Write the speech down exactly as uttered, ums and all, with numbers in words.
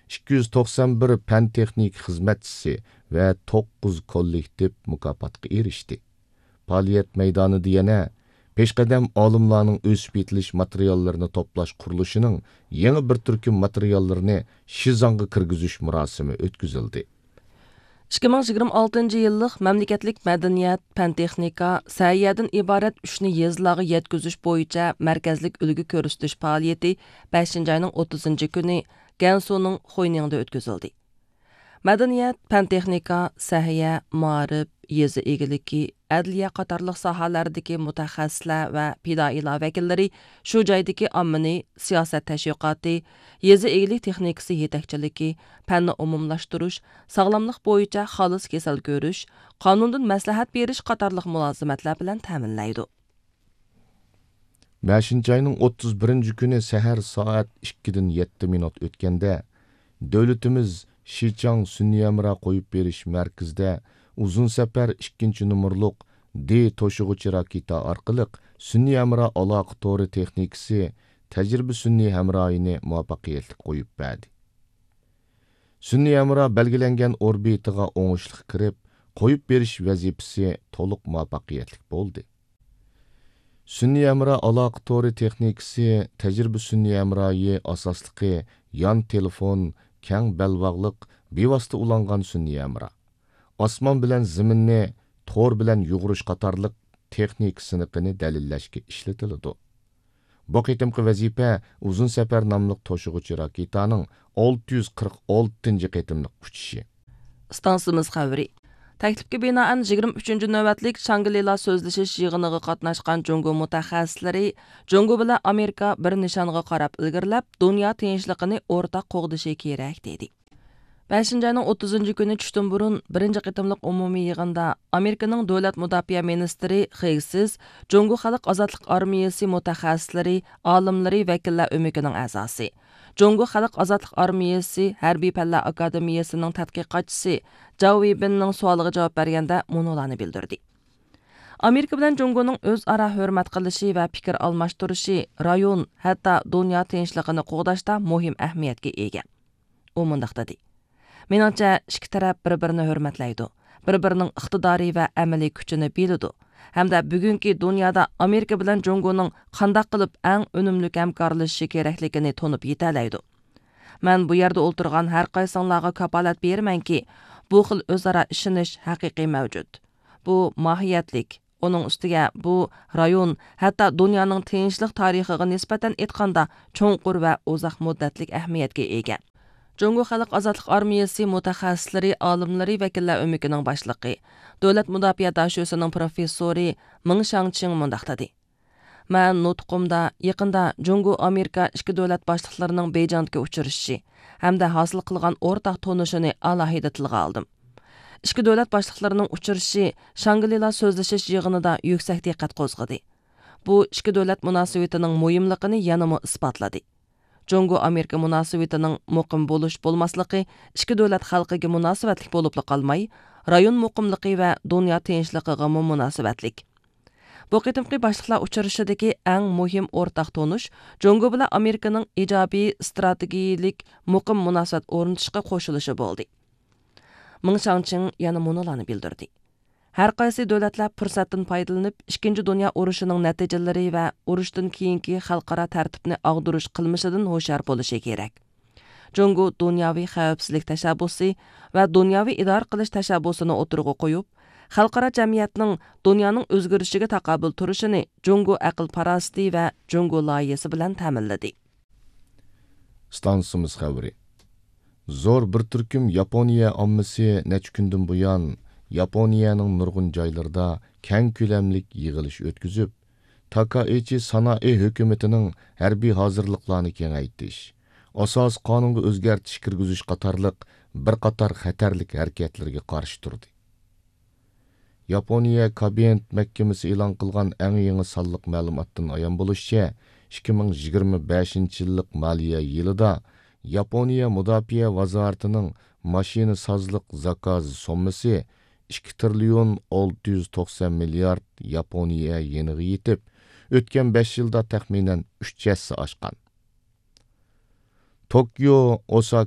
ئىككى يۈز توقسان بىر پەن-تېخنىكا خىزمەتچىسى ۋە توققۇز كوللېكتىپ مۇكاپاتقا ئېرىشتى. پائالىيەت مەيدانىدا يەنە پېشقەدەم ئالىملارنىڭ ئۆسۈپ يېتىلىش ماتېرىياللىرىنى توپلاش قۇرۇلۇشىنىڭ يېڭى بىر تۈركۈم ماتېرىياللىرىنى شىزاڭغا كىرگۈزۈش مۇراسىمى ئۆتكۈزۈلدى. ئىككى مىڭ يىگىرمە ئالتىنچى يىللىق مەملىكەتلىك مەدەنىيەت، پەن-تېخنىكا، سەھىيەدىن ئىبارەت ئۈچنى يېزىلارغا يەتكۈزۈش بويىچە مەركەزلىك ئۈلگە كۆرسىتىش پائالىيىتى بەشىنچى ئاينىڭ ئوتتۇزىنچى كۈنى گەنسۇنىڭ خۇينىڭدا ئۆتكۈزۈلدى. مەدەنىيەت، پەن-تېخنىكا، سەھىيە، مائارىپ، يېزا ئىگىلىكى، ئەدلىيە قاتارلىق ساھەلەردىكى مۇتەخەسسىسلەر ۋە پىدائىيلار ۋەكىللىرى شۇ جايدىكى ئاممىنى سىياسەت تەشۋىقاتى، يېزا ئىگىلىك تېخنىكىسى يېتەكچىلىكى، پەننى ئومۇملاشتۇرۇش، ساغلاملىق بويىچە خالىس كېسەل كۆرۈش، قانۇندىن مەسلىھەت بېرىش قاتارلىق مۇلازىمەتلەر بىلەن تەمىنلەيدۇ. بەشىنچى ئاينىڭ ئوتتۇز بىرىنچى كۈنى سەھەر سائەت ئىككىدىن يەتتە مىنۇت ئۆتكەندە، دۆلىتىمىز شىچاڭ سۈنئىي ھەمراھ قويۇپ بېرىش مەركىزىدە ئۇزۇن سەپەر ئىككىنچى نومۇرلۇق دې توشۇغۇچى راكېتا ئارقىلىق سۈنئىي ھەمراھ ئالاقە تورى تېخنىكىسى تەجرىبە سۈنئىي ھەمراھىنى مۇۋەپپەقىيەتلىك قويۇپ بەردى. سۈنئىي ھەمراھ بەلگىلەنگەن ئوربىتىغا ئوڭۇشلۇق كىرىپ، قويۇپ بېرىش ۋەزىپىسى تولۇق مۇۋەپپەقىيەتلىك بولدى. سۈنئىي ھەمراھ ئالاقە تورى تېخنىكىسى تەجرىبە سۈنئىي ھەمراھى ئاساسلىقى يان تېلېفون، كەڭ بەلباغلىق، بىۋاسىتە ئۇلانغان سۈنئىي ھەمراھ، ئاسمان بىلەن زېمىننى تور بىلەن يۇغۇرۇش قاتارلىق تېخنىكا سىنىقىنى دەلىللەشكە ئىشلىتىلىدۇ. بۇ قېتىمقى ۋەزىپە ئۇزۇن سەپەر ناملىق توشۇغۇچى راكېتانىڭ ئالتە يۈز قىرىق ئالتىنچى قېتىملىق ئۇچۇشى. ئىستانسىمىز خەۋىرى. تەكلىپكە بىنائەن، يىگىرمە ئۈچىنچى نۆۋەتلىك شاڭگلىلا سۆزلىشىش يىغىنىغا قاتناشقان جۇڭگو مۇتەخەسسىسلىرى جۇڭگو بىلەن ئامېرىكا بىر نىشانغا قاراپ ئىلگىرىلەپ، دۇنيا تىنچلىقىنى ئورتاق قوغدىشى كېرەك، دېدى. بەشىنچى ئاينىڭ ئوتتۇزىنچى كۈنى چۈشتىن بۇرۇن بىرىنچى قېتىملىق ئومۇمىي يىغىندا ئامېرىكىنىڭ دۆلەت مۇداپىئە مىنىستىرى خىگسىز جۇڭگو خەلق ئازادلىق ئارمىيىسى مۇتەخەسسىسلىرى، ئالىملىرى، ۋەكىللەر ئۆمىكىنىڭ ئەزاسى، جۇڭگو خەلق ئازادلىق ئارمىيىسى ھەربىي پەنلەر ئاكادېمىيەسىنىڭ تەتقىقاتچىسى جاۋ ۋېيبىننىڭ سوئالىغا جاۋاب بەرگەندە مۇنۇلارنى بىلدۈردى. ئامېرىكا بىلەن جۇڭگونىڭ ئۆزئارا ھۆرمەت قىلىشى ۋە پىكىر ئالماشتۇرۇشى رايون، ھەتتا دۇنيا تىنچلىقىنى قوغداشتا مۇھىم ئەھمىيەتكە ئىگە. ئۇ مۇنداق دېدى: مېنىڭچە، ئىككى تەرەپ بىر-بىرىنى ھۆرمەتلەيدۇ، بىر-بىرىنىڭ ئىقتىدارى ۋە ئەمەلىي كۈچىنى بىلىدۇ ھەمدە بۈگۈنكى دۇنيادا ئامېرىكا بىلەن جۇڭگونىڭ قانداق قىلىپ ئەڭ ئۈنۈملۈك ھەمكارلىشىشى كېرەكلىكىنى تونۇپ يېتەلەيدۇ. مەن بۇ يەردە ئولتۇرغان ھەر قايسىڭلارغا كاپالەت بېرىمەنكى، بۇ خىل ئۆزئارا ئىشىنىش ھەقىقىي مەۋجۇت. بۇ ماھىيەتلىك، ئۇنىڭ ئۈستىگە بۇ رايون، ھەتتا دۇنيانىڭ تىنچلىق تارىخىغا نىسبەتەن ئېيتقاندا، چوڭقۇر ۋە ئۇزاق مۇددەتلىك ئەھمىيەتكە ئىگە. جۇڭگو خەلق ئازادلىق ئارمىيەسى مۇتەخەسسىسلىرى، ئالىملىرى ۋەكىللەر ئۆمىكىنىڭ باشلىقى، دۆلەت مۇداپىئە داشۆسىنىڭ پروفېسسورى مېڭ شاڭچىڭ مۇنداق دېدى: مەن نۇتقۇمدا يېقىندا جۇڭگو ئامېرىكا ئىككى دۆلەت باشلىقلىرىنىڭ بېيجىڭدىكى ئۇچرىشىشى ھەمدە ھاسىل قىلغان ئورتاق تونۇشىنى ئالاھىدە تىلغا ئالدىم. ئىككى دۆلەت باشلىقلىرىنىڭ ئۇچرىشىشى شاڭگلىلا سۆزلىشىش يىغىنىدا يۈكسەك دىققەت قوزغىدى. بۇ ئىككى دۆلەت مۇناسىۋىتىنىڭ مۇھىملىقىنى يەنىمۇ ئىسپاتلىدى. جۇڭگو ئامېرىكا مۇناسىۋىتىنىڭ مۇقىم بولۇش بولماسلىقى ئىككى دۆلەت خەلقىگە مۇناسىۋەتلىك بولۇپلا قالماي، رايون مۇقىملىقى ۋە دۇنيا تىنچلىقىغىمۇ مۇناسىۋەتلىك. بۇ قېتىمقى باشلىقلار ئۇچرىشىشىدىكى ئەڭ مۇھىم ئورتاق تونۇش جۇڭگو بىلەن ئامېرىكىنىڭ ئىجابىي ئىستراتېگىيىلىك مۇقىم مۇناسىۋەت ئورنىتىشقا قوشۇلۇشى بولدى. مېڭ شاڭچىڭ يەنە مۇنۇلارنى بىلدۈردى: ھەر قايسى دۆلەتلەر پۇرسەتتىن پايدىلىنىپ، ئىككىنچى دۇنيا ئۇرۇشىنىڭ نەتىجىلىرى ۋە ئۇرۇشتىن كېيىنكى خەلقئارا تەرتىپنى ئاغدۇرۇش قىلمىشىدىن ھوشيار بولۇشى كېرەك. جۇڭگو دۇنياۋى خەۋپسىزلىك تەشەببۇسى ۋە دۇنياۋى ئىدارە قىلىش تەشەببۇسىنى ئوتتۇرىغا قويۇپ، خەلقئارا جەمئىيەتنىڭ دۇنيانىڭ ئۆزگىرىشىگە تاقابىل تۇرۇشىنى جۇڭگو ئەقىل-پاراسىتى ۋە جۇڭگو لايىھىسى بىلەن تەمىنلىدى. ئىستانسىمىز خەۋىرى. زور بىر تۈركۈم ياپونىيە ئاممىسى نەچچە كۈندىن بۇيان ياپونىيەنىڭ نۇرغۇن جايلىرىدا كەڭ كۆلەملىك يىغىلىش ئۆتكۈزۈپ، تاكائىچى سانائى ھۆكۈمىتىنىڭ ھەربىي ھازىرلىقلارنى كېڭەيتىش، ئاساسىي قانۇنغا ئۆزگەرتىش كىرگۈزۈش قاتارلىق بىر قاتار خەتەرلىك ھەرىكەتلىرىگە قارشى تۇردى. ياپونىيە كابىنېت مەھكىمىسى ئېلان قىلغان ئەڭ يېڭى سانلىق مەلۇماتتىن ئايان بولۇشىچە، ئىككى مىڭ يىگىرمە بەشىنچى يىللىق مالىيە يىلىدا ياپونىيە مۇداپىئە ۋازارىتىنىڭ ماشىنىسازلىق زاكاز سوممىسى ئىككى تىرىليون ئالتە يۈز توقسان مىليارد ياپونىيە يېنىغا يېتىپ، ئۆتكەن بەش يىلدا تەخمىنەن ئۈچ ھەسسە ئاشقان. توكيو، ئوساكا